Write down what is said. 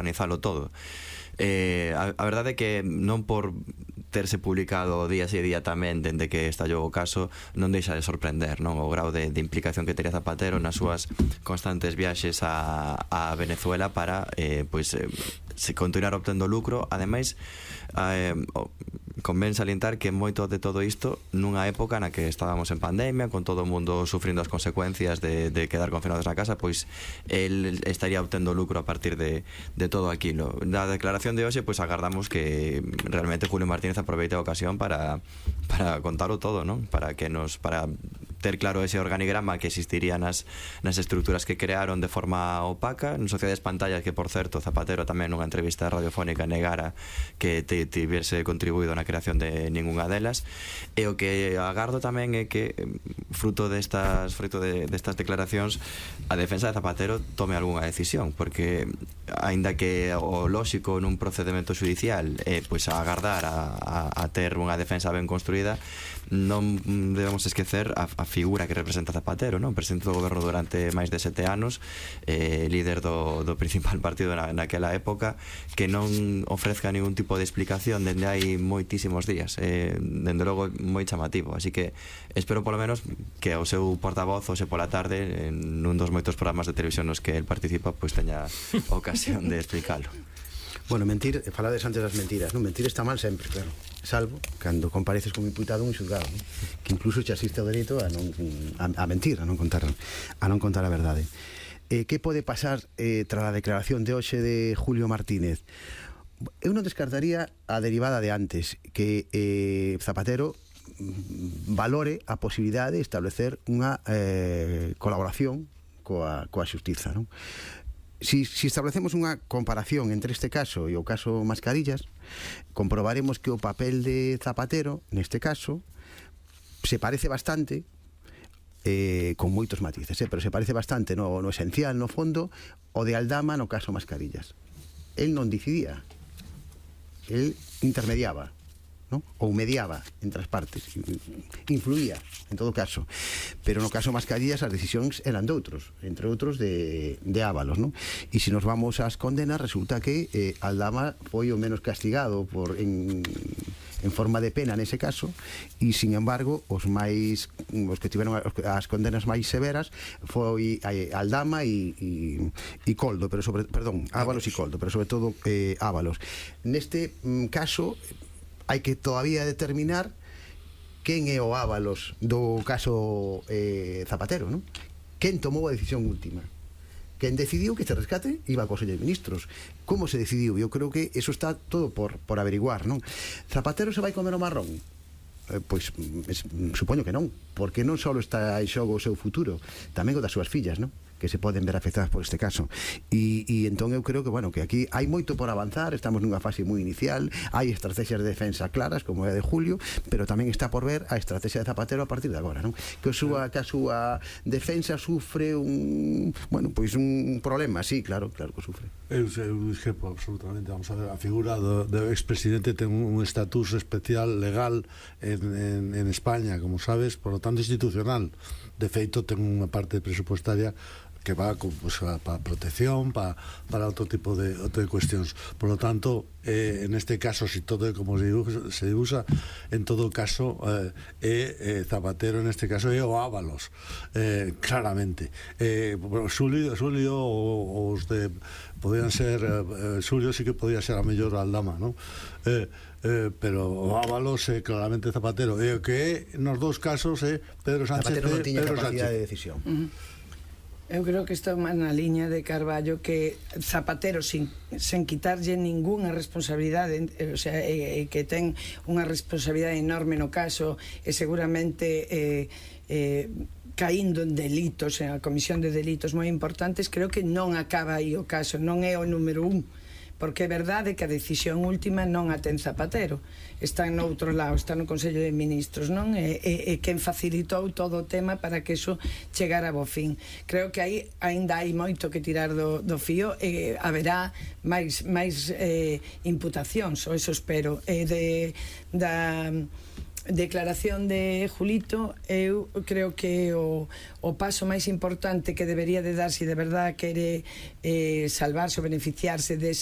organizalo todo. A verdade é que non por terse publicado día e día tamén dende que estallou o caso non deixa de sorprender, non, o grau de implicación que tería Zapatero nas súas constantes viaxes a Venezuela para se continuar obtendo lucro. Ademais, convén salientar que moito de todo isto nunha época na que estábamos en pandemia, con todo o mundo sufrindo as consecuencias de quedar confinados na casa, pois el estaría obtendo lucro a partir de todo aquilo. Da declaración de hoxe, pois agardamos que realmente Julio Martínez aproveite a ocasión para contalo todo, non? Para ter claro ese organigrama que existiría nas estruturas que crearon de forma opaca, en Sociedades Pantallas, que por certo Zapatero tamén nunha entrevista radiofónica negara que tivese contribuído na creación de ningunha delas. E o que agardo tamén é que fruto destas declaracións a defensa de Zapatero tome algunha decisión, porque aínda que o lóxico nun procedimento judicial pois agardar a ter unha defensa ben construída, non debemos esquecer a figura que representa Zapatero, non? Presidente do goberno durante máis de 7 anos, líder do principal partido naquela época, que non ofrezca ningún tipo de explicación dende hai moitísimos días, dende logo moi chamativo. Así que espero polo menos que o seu portavoz hoxe pola tarde, en un dos moitos programas de televisión nos que el participa, pois teña ocasión de explicalo. Bueno, mentir, falades antes das mentiras, non? Mentir está mal sempre, claro, salvo cando compareces como imputado un xulgado, non? Que incluso xa existe o dereito a mentir, a non contar a verdade. Que pode pasar tras a declaración de hoxe de Julio Martínez? Eu non descartaría a derivada de antes, que Zapatero valore a posibilidade de establecer unha colaboración coa xustiza, non? Si establecemos unha comparación entre este caso e o caso Mascarillas, comprobaremos que o papel de Zapatero neste caso se parece bastante, con moitos matices, pero se parece bastante no esencial, no fondo, o de Aldama no caso Mascarillas. El non decidía, el intermediaba, ¿no? Ou mediaba entre as partes, influía en todo caso, pero no caso Mascarillas as decisións eran de outros, entre outros de Ábalos, ¿no? E se nos vamos ás condenas, resulta que Aldama foi o menos castigado en forma de pena nese caso, e sin embargo os que tiveron as condenas máis severas foi Aldama e Coldo, Ábalos e Coldo, pero sobre todo Ábalos. Neste caso hai que todavía determinar quen é o Ábalos do caso Zapatero, non? Quen tomou a decisión última? Quen decidiu que este rescate iba ao Consello de Ministros? Como se decidiu? Eu creo que eso está todo por averiguar, non? Zapatero se vai comer o marrón? Pois supoño que non, porque non só está en xogo o seu futuro, tamén o das súas fillas, non? Que se poden ver afectadas por este caso. E entón eu creo que, bueno, que aquí hai moito por avanzar, estamos nunha fase moi inicial, hai estrategias de defensa claras, como é a de Julio, pero tamén está por ver a estrategia de Zapatero a partir de agora, non? Que a súa defensa sufre un problema, sí, claro que sufre. Eu discrepo absolutamente, vamos a ver, a figura do expresidente ten un estatus especial legal en España, como sabes, por lo tanto institucional. De feito, ten unha parte presupuestaria que va para protección, para outro tipo de cuestións. Por lo tanto, en este caso, si todo é como se usa, en todo caso Zapatero, en este caso é o Ábalos, claramente. Xulio os de podían ser Xulio sí que podía ser a mellor Aldama, non? Pero o Ábalos é claramente Zapatero, e o que é nos dous casos é Pedro Sánchez. Zapatero non tiña capacidade de decisión. Eu creo que está máis na liña de Carballo, que Zapatero sin quitarlle ningunha responsabilidade, o sea, que ten unha responsabilidade enorme no caso, e seguramente caindo en delitos, en a comisión de delitos moi importantes, creo que non acaba aí o caso, non é o número 1, porque é verdade que a decisión última non a ten Zapatero, está en outro lado, está no Consello de Ministros, non? E quen facilitou todo o tema para que eso chegara a bo fin. Creo que aí ainda hai moito que tirar do fío, e haberá máis imputacións, ou eso espero, da declaración de Julito. Eu creo que o paso máis importante que debería de dar, se de verdad quere salvarse ou beneficiarse desa